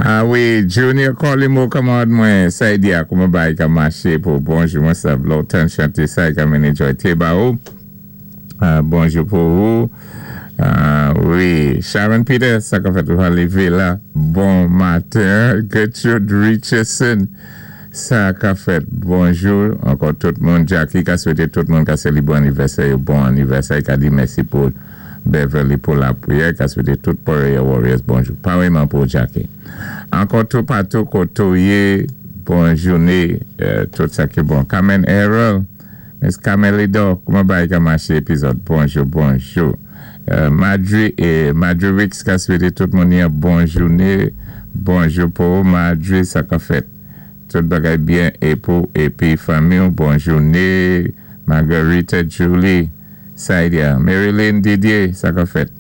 Ah wi, Junior Colimo, kanmarad mwen, sa i di a, kouman bagay ka maché pou bonjou, mwen sav lontan chanté sa i ka mennen joy té ba ou. Ah, bonjou pou ou. Ah, wi, Sharon Peter, sa ka fèt ou lévé la. Bon maten. Gertrude Richardson, sa ka fèt. Bonjou. Ankò tout moun. Jackie ka swété tout moun ka sélébwé anivèsè, bon anivèsè, ka di mèsi pou Beverly pou lapriyè, ka swété tout Prayer Warriors bonjou. Pareman pou Jackie. Ankò tout patou koté ou yé, bon jouné, tout sa ki bon. Carmen Errol, Miss Carmelido, kouman bagay ka maché épizòd? Bonjou, bonjou. Madri é Madri Wicks ka swété tout moun yon bon jouné. Bonjou pou Madri, sa ka fèt. Tout bagay byen é pou épi fanmi, bon jouné. Margarita Julie, Saidia, Marilyn Didier, sa ka fèt.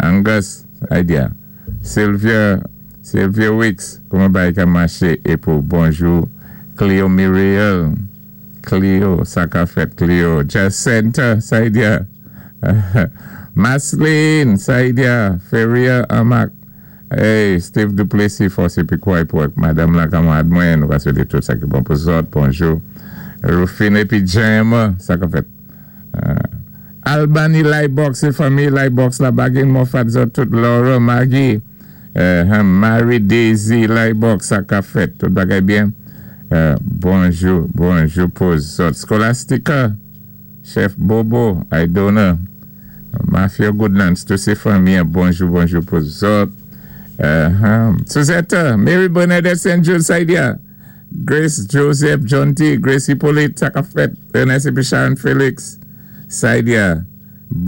Angus, Saidia. Sylvia, Sylvia Wicks, kouman bagay ka maché é pou bonjou. Cleo Muriel, Cleo, sa ka fèt, Cleo. Jacinta, Saidia. Masline, Saidia. Feria Amak. Hey, Steve Duplessis, fòs épi kouway pou madanm la kanmarad mwen, nou va swété tout sa ki bon pou zòt, bonjou. Rufine épi Jem, sa ka fèt. Albany Lightbox, sé fanmi Lightbox la, Bagin Moffat, zòt tout, Laura, Maggie, Mary Daisy Lightbox, sa ka fèt, tout bagay byen. Bonjou, bonjou pou zòt. Scholastica, Chef Bobo, Aidona, Mafia Goodlands, tout sé fanmi, bonjou, bonjou pou zòt. Suzette, Mary Bernadette St. Jude, Saidia, Grace Joseph, John T, Grace Hippolyte, sa ka fèt, Ernest épi Sharon Felix, Saidia.